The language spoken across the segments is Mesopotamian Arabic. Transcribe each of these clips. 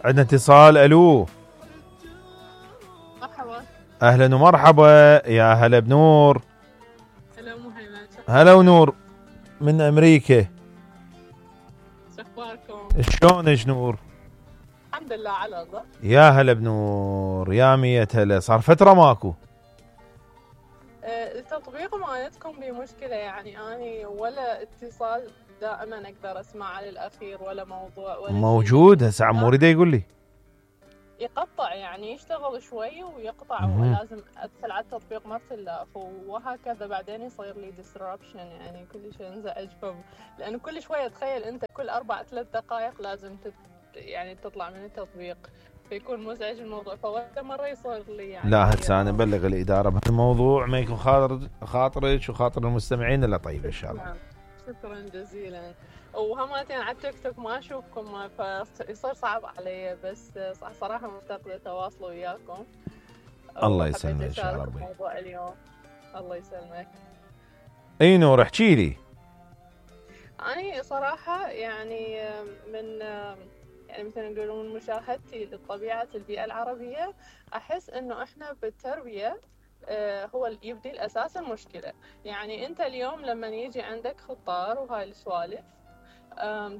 عندنا اتصال. الو مرحبا. اهلا ومرحبا، يا هلا بنور. هلا مهيمن. هلا ونور من امريكا. شخباركم؟ شلونك نور؟ الحمد لله على الله. يا هلا بنور، يا مية هلا. صار فترة ماكو. التطبيق مالتكم بمشكلة، يعني أنا ولا اتصال دائما أقدر أسمع على الأخير ولا موضوع ولا موجود هسه عموري دا يقول لي يقطع، يعني يشتغل شوي ويقطع ولازم أدخل على التطبيق ما تلاف وهكذا، بعدين يصير لي disruption، يعني كل شيء انزعج لأنه كل شوية تخيل أنت كل 4-3 دقائق لازم يعني تطلع من التطبيق، فيكون مزعج الموضوع، فوقت مرة يصير لي يعني. لا هسه أنا بلغ الإدارة بهالموضوع، ما يكون خاطرك وخاطر المستمعين إلا طيب إن شاء الله. شكرا جزيلا. وهمتين على التيك توك ما اشوفكم فيصير صعب علي، بس صراحه مفتقده تواصل وياكم. الله يسلمك ان شاء الله ربي. موضوع اليوم الله يسلمك. اي نور احكي لي. اني صراحه يعني يعني مثلا يقولون من مشاهدتي لطبيعه البيئه العربيه، احس انه احنا بالتربيه هو اللي يبدي الأساس المشكلة. يعني أنت اليوم لما يجي عندك خطار وهاي السوالف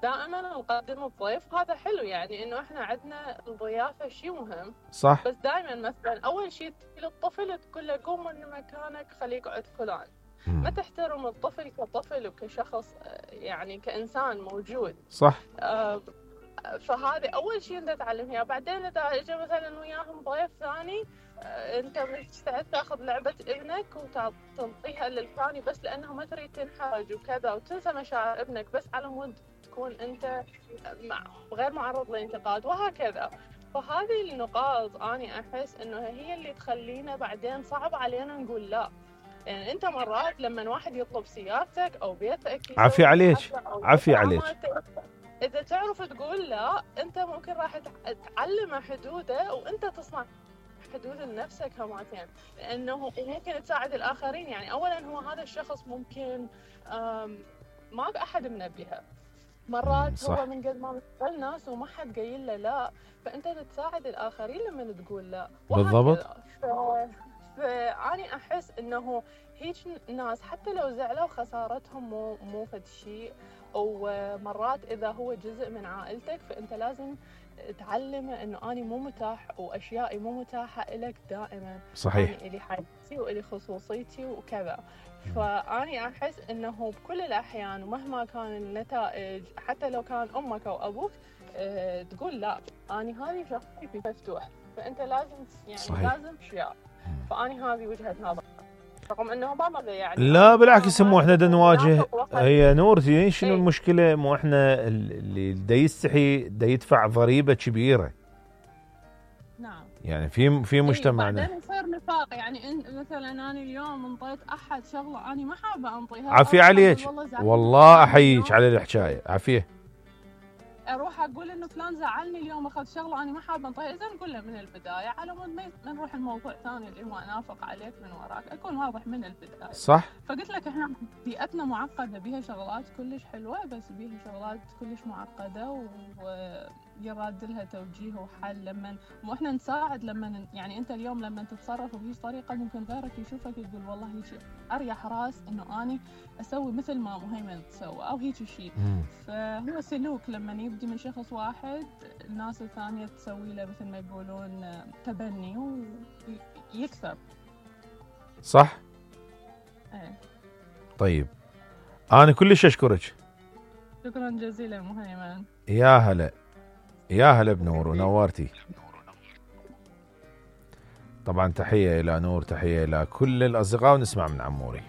دائما نقدم الضيف، هذا حلو، يعني إنه إحنا عندنا الضيافة شيء مهم صح. بس دائما مثلا أول شيء للطفل تقول له قوم من مكانك خليه يقعد فلان. ما تحترم الطفل كطفل وكشخص، يعني كإنسان موجود. صح. فهذا أول شيء أنت تعلمها. بعدين إذا إجا مثلا وياهم ضيف ثاني، أنت مستعد تأخذ لعبة ابنك وتعطيها للثاني بس لأنه ما تريد تنحرج وكذا، وتنسى مشاعر ابنك بس على مود تكون أنت غير معرض للانتقاد وهكذا. فهذه النقاط أنا أحس إنه هي اللي تخلينا بعدين صعب علينا نقول لا. يعني أنت مرات لما واحد يطلب سيارتك أو بيتك، عافية عليك عافية عليك، إذا تعرف تقول لا أنت ممكن راح تعلم حدوده وأنت تصنع حدود لنفسك هماتين، لأنه ممكن تساعد الآخرين. يعني أولا هو هذا الشخص ممكن ما أحد منبهه مرات، صح. هو من قد ما مثل ناس وما حد قايل له لا، فأنت تساعد الآخرين لما تقول لا. بالضبط. فأنا أحس إنه هيك ناس حتى لو زعلوا خسارتهم مو فد شيء، ومرات إذا هو جزء من عائلتك فأنت لازم تعلمه إنه أنا مو متاح وأشيائي مو متاحة إلك دائما. صحيح. أنا إلي حاجتي وإلي خصوصيتي وكذا. فأنا أحس إنه بكل الأحيان ومهما كان النتائج، حتى لو كان أمك أو أبوك تقول لا، أنا هذه شخصيتي مفتوح، فأنت لازم يعني صحيح. لازم أشياء. فأنا هذه وجهة نظر، رغم انه ما يعني لا بالعكس، مو احنا دا نواجه. هي نور شنو المشكله؟ مو احنا اللي دا يستحي دا يدفع ضريبه كبيره. نعم. يعني في مجتمعنا بعدين يصير نفاق. يعني مثلا انا اليوم انطيت احد شغله انا ما حابه انطيها. عافيه عليك والله، احييك على الحكايه. عافيه. اروح اقول انه فلان زعلني اليوم اخذ شغله انا ما حابه انطيها، اذا نقول له من البدايه على مود ما نروح الموضوع ثاني اللي هو انافق عليك من وراك، اكون واضح من البدايه. صح. فقلت لك احنا بيئتنا معقده، بيها شغلات كلش حلوه بس بيها شغلات كلش معقده ويراد لها توجيه وحل. لما واحنا نساعد، لما يعني انت اليوم لما تتصرف بهيج طريقه ممكن غيرك يشوفك يقول والله هيك اريح راس انه اني اسوي مثل ما مهيمن تسوي او هيك شيء. فهو سلوك لما يبدي من شخص واحد، الناس الثانيه تسوي له مثل ما يقولون تبني ويكثر. صح. ايه. طيب انا كلش اشكرك. شكرا جزيلا مهيمن. يا هلا، يا هلا بنور ونورتي. طبعا تحيه الى نور، تحيه الى كل الاصدقاء، ونسمع من عموري.